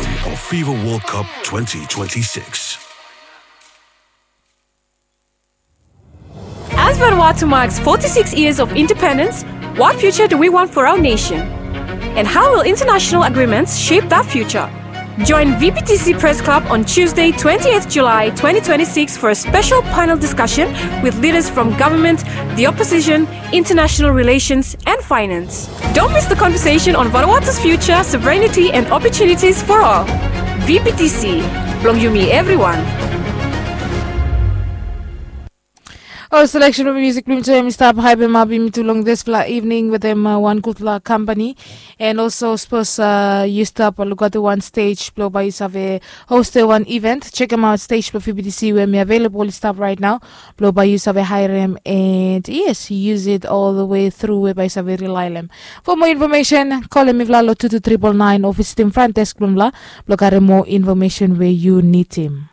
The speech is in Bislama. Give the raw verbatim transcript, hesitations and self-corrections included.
of FIFA World Cup twenty twenty-six. As Vanuatu marks forty-six years of independence, what future do we want for our nation? And how will international agreements shape that future? Join V P T C Press Club on Tuesday, twentieth July twenty twenty-six, for a special panel discussion with leaders from government, the opposition, international relations, and finance. Don't miss the conversation on Vanuatu's future, sovereignty, and opportunities for all. V P T C, blong yumi evriwan. Ol selection blong musik blong yumi tu em i stap haipim ap yumi tu long dispela evening wetem wan gutpela kampani. And also sapos yu stap lukaotim wan stej blong bai yu save hostim wan event, sekemaot stej blong V P T C we em i available i stap right now, blong bai yu save harim and yes, use it all the way through we bai yu save rely long em. For more information, kolim mifala long two two triple nine o visitim front desk blong mifala blong karim more information we yu nidim.